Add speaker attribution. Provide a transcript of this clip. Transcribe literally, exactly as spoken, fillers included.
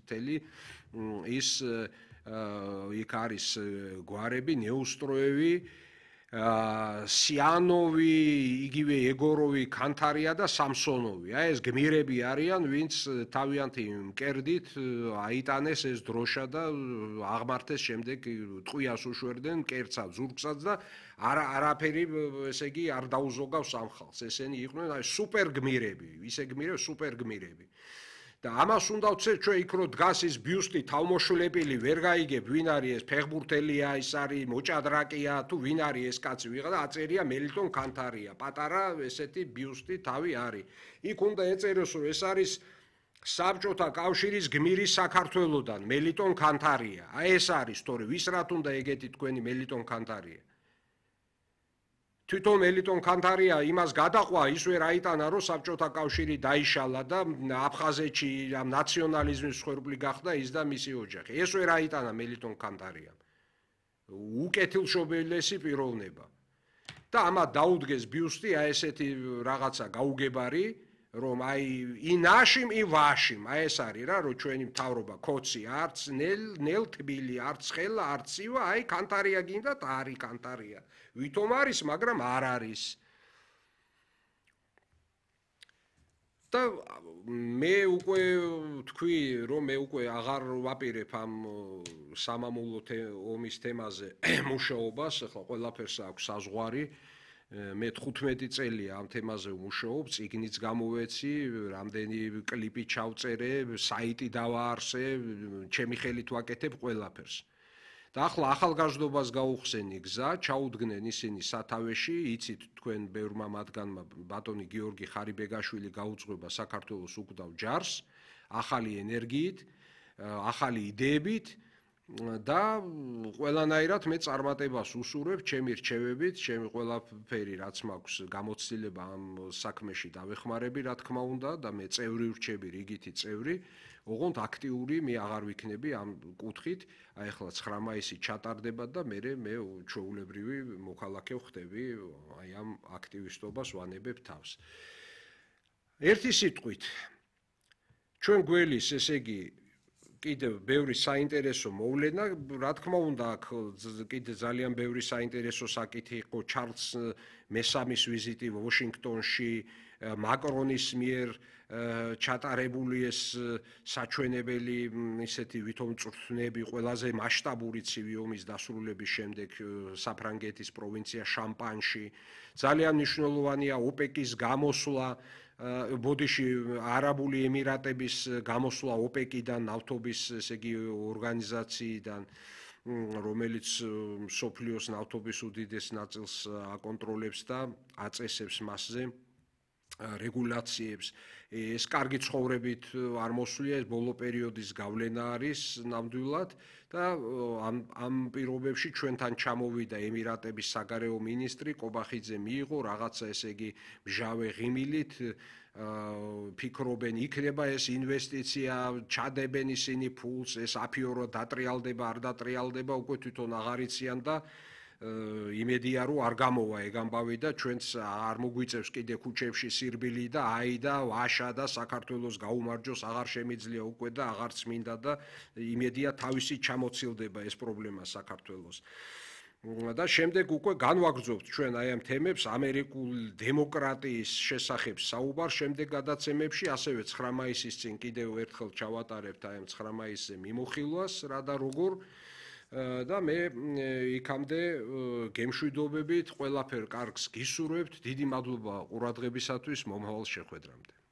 Speaker 1: მთელი ის იქ არის გვარები, ნეუსტროევი, სიანოვი, იგივე ეგოროვი, კანთარია და სამსონოვი. აი ეს გმირები არიან, ვინც თავიანთი მკერდით აიტანეს ეს დროშა და აღმართეს შემდეგ ტყვიას უშვერდნენ მკერდსაც, ზურგსაც და არა არაფერი ესე იგი არ დაუზოგავს ამ ხალხს. ესენი იყვნენ აი სუპერ გმირები, ისე გმირები, სუპერ გმირები. და ამას უნდა ვცეთ ჩვენ იქ რო დგას ის ბიუსტი თავმოშლებელი ვერ გაიგებ ვინ არის ეს ფეხბურთელია ის არის მოჭადრაკია თუ ვინ არის ეს კაცი ვიღა და აწერია მელიტონ კანთარია პატარა ესეთი ბიუსტი თავი არის იქ უნდა ეწეროს რომ ეს არის საბჭოთა კავშირის გმირი საქართველოსდან მელიტონ კანთარია აი ეს არის თორე ვის რათ უნდა ეგეთი თქვენი მელიტონ კანთარია თვითონ მელიტონ კანთარია იმას გადაყვა ის ვერ აიტანა რომ საბჭოთა კავშირი დაიშალა და აფხაზეთში ამ ნაციონალიზმის მსხვერპლი გახდა ის და მისი ოჯახი ეს ვერ აიტანა მელიტონ კანთარიამ უკეთილშობილესი პიროვნება და ამათ დაუდგეს ბიუსტი აი ესეთი რაღაცა გაუგებარი რომ აი ინაშიმ ი ვაშიმ აი ეს არის რა რომ ჩვენი მთავრობა კოცი არც ნელ ნელ თბილი არც ხელა არც ცივა აი კანთარია გინდათ არის კანთარია ვითომ არის მაგრამ არ არის და მე უკვე თქვი რომ მე უკვე აღარ ვაპირებ ამ სამამულო ომის თემაზე მუშაობას ახლა ყველაფერს აქვს საზღვარი მე თხუთმეტი წელია ამ თემაზე ვმუშაობ, წიგნიც გამოვეცი, რამდენი კლიპი ჩავწერე, საიტი დავაარსე, ჩემი ხელით ვაკეთებ ყველაფერს. და ახლა ახალგაზრდობას გაუხსენი გზა, ჩაუდგნენ ისინი სათავეში, იცით თქვენ ბევრმა მათგანმა ბატონი გიორგი ხარიბეგაშვილი გაუძღვება საქართველოს უკვდავ ჯარს, ახალი ენერგიით, ახალი იდეებით და ყველანაირად მე წარმატებას უსურვებ ჩემი რჩევებით, ჩემი ყველაფერი რაც მაქვს გამოცდილება ამ საქმეში დავეხმარები, რა თქმა უნდა და მე წევრი ვრჩები, რიგითი წევრი, ოღონდ აქტიური მე აღარ ვიქნები ამ კუთხით, აი ახლა ცხრა მაისი ჩატარდება და მე მე ჩვეულებრივი მოქალაქე ვხდები, აი ამ აქტივისტობას ვანებებ თავს. ერთი სიტყვით ჩვენ გველის ესე იგი კიდევ ბევრი საინტერესო მოვლენა, რა თქმა უნდა, აქ კიდე ძალიან ბევრი საინტერესო საკითხი იყო ჩარლზ მესამის ვიზიტი ვაშინგტონში, მაკრონის მიერ ჩატარებული ეს საჩვენებელი ისეთი ვითომ წვრთნები ყველაზე მასშტაბური ცივი ომის დასრულების შემდეგ საფრანგეთის პროვინცია შამპანში, ძალიან მნიშვნელოვანია ოპეკის გამოსვლა ბოდიში არაბული ემირატების გამოსვლა ოპეკიდან ნავთობის ესე იგი ორგანიზაციიდან რომელიც სოფლიოს ნავთობის უდიდეს ნაწილს აკონტროლებს და აწესებს მასზე რეგულაციებს ეს კარგი ცხოვრებით არ მოსვლია ეს ბოლო პერიოდის გავლენა არის ნამდვილად და ამ ამ პირობებში ჩვენთან ჩამოვიდა ემირატების საგარეო მინისტრი კობახიძე მიიღო რაღაცა ესე იგი მჟავე ღიმილით ფიქრობენ იქნება ეს ინვესტიცია ჩადებენ ისინი ფულს ეს აფიორო დატრიალდება არ დატრიალდება უკვე თვითონ აღარ იციან და იმედია რომ არ გამოვა ეგ ამბავი და ჩვენც არ მოგვიწევს კიდე ქუჩებში სირბილი და აი და ვაშა და საქართველოს გაუმარჯოს აღარ შემიძლია უკვე და აღარც მინდა და იმედია თავისი ჩამოცილდება ეს პრობლემა საქართველოს და შემდეგ უკვე განვაგრძობთ ჩვენ აი ამ თემებს ამერიკულ დემოკრატიის შესახებ საუბარ შემდეგ გადაცემებში ასევე ცხრა მაისის წინ კიდევ ერთხელ ჩავატარებთ აი ამ ცხრა მაისზე მიმოხილვას რა და როგორ და მე იქამდე გემშვიდობებით ყველაფერ კარგს გისურვებთ დიდი მადლობა ყურადღებისათვის მომავალ შეხვედრამდე